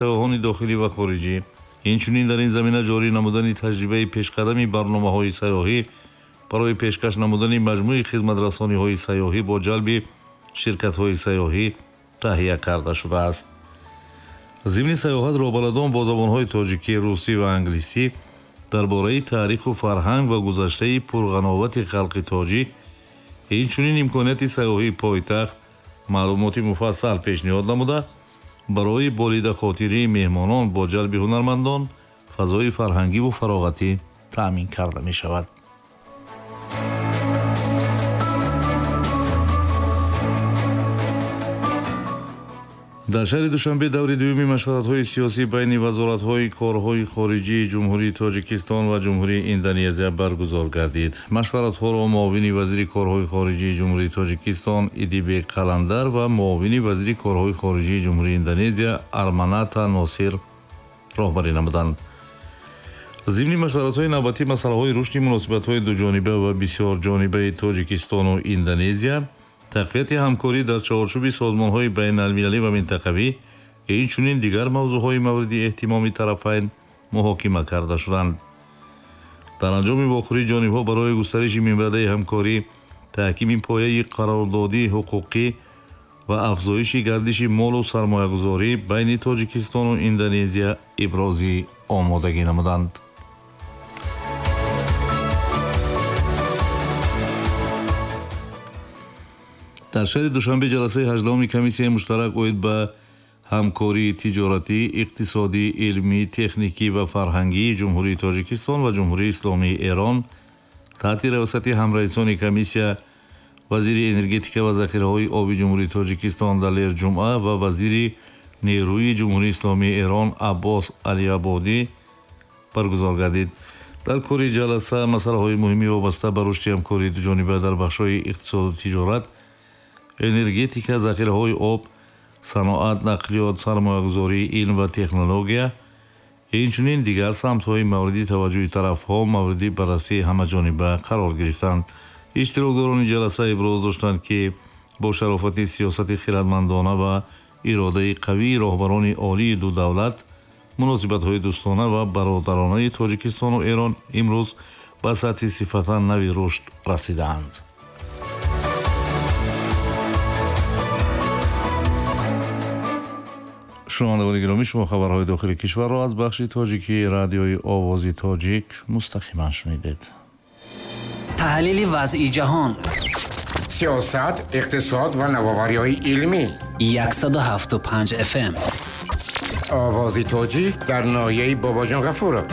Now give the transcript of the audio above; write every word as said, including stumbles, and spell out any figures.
Сайёҳони дохилӣ ва хориҷӣ, инчунин дар ин замина ҷорӣ намудани таҷрибаи пешқадами барномаҳои сайёҳӣ барои пешкаш намудани маҷмӯи хизматрасониҳои сайёҳӣ бо ҷалби ширкатҳои сайёҳӣ таҳия карда шудааст. Зимни сайёҳат роҳбаладон бо забонҳои тоҷикӣ, русӣ ва англисӣ дар бораи таъриху фарҳанг ва гузаштаи пурғановати халқи тоҷик, инчунин имконияти сайёҳии пойтахт маълумоти муфассал пешниҳод намуда, барои болидахотирии меҳмонон бо ҷалби ҳунармандон фазои фарҳангиву фароғатӣ таъмин карда мешавад. Дар шаҳри Душанбе даври дуюми машваратҳои сиёсӣ байни вазоратҳои корҳои хориҷии Ҷумҳурии Тоҷикистон ва Ҷумҳурии Индонезия баргузор гардид. Машваратҳоро муовини вазири корҳои хориҷии Ҷумҳурии Тоҷикистон Идибек Қаландар ва муовини вазири корҳои хориҷии Ҷумҳурии Индонезия Арманата Носир роҳбарӣ намуданд. Зимни машваратҳои навбатӣ масъалаҳои рушди муносибатҳои дуҷониба ва бисёрҷонибаи Тоҷикистону Индонезия, тақвияти ҳамкорӣ дар чаҳорчӯби созмонҳои байналмилалӣ ва минтақавӣ, инчунин дигар мавзӯъҳои мавриди эҳтимоми тарафайн муҳокима карда шуданд. Дар анҷоми вохӯрӣ ҷонибҳо барои густариши минбаъдаи ҳамкорӣ, таҳкими пояи қарордодии ҳуқуқӣ ва афзоиши гардиши молу сармоягузорӣ байни Тоҷикистону Индонезия ибрози омодагӣ намуданд. Дар шаҳри Душанбе ҷаласаи ҳаждаҳуми комиссияи муштарак оид ба ҳамкории тиҷоратӣ, иқтисодӣ, илмӣ, техникӣ ва фарҳангии Ҷумҳурии Тоҷикистон ва Ҷумҳурии Исломии Эрон таҳти раёсати ҳамраисони комиссия вазири энергетика ва захираҳои оби Ҷумҳурии Тоҷикистон Далер Ҷумъа ва вазири нерӯи Ҷумҳурии Исломии Эрон Аббос Алиабодӣ баргузор гардид. Дар кори ҷаласа масъалаҳои муҳими вобаста ба рушди ҳамкории дуҷониба дар бахшҳои иқтисоду тиҷорат, энергетика, захираҳои об, саноат, нақлиёт, сармоягузорӣ, илм ва технология, инчунин дигар самтҳои мавриди таваҷҷӯҳи тарафҳо мавриди баррасии ҳамаҷониба қарор гирифтанд. Иштирокдорони ҷаласа иброз доштанд, ки бо шарофати сиёсати хирадмандона ва иродаи қавии роҳбарони олии ду давлат, муносибатҳои дӯстона ва бародаронаи Тоҷикистону Эрон имрӯз ба сатҳи сифатан нави рушд расидаанд. Шунавандагони гиромӣ, шумо хабарҳои дохили кишварро аз бахши тоҷикии радиои Овози Тоҷик мустақиман шунидед. Таҳлили вазъи ҷаҳон, сиёсат, иқтисод ва навовариҳои илмӣ. Яксаду ҳафту панҷ F M. Овози Тоҷик дар ноҳияи Бобоҷон Ғафуров.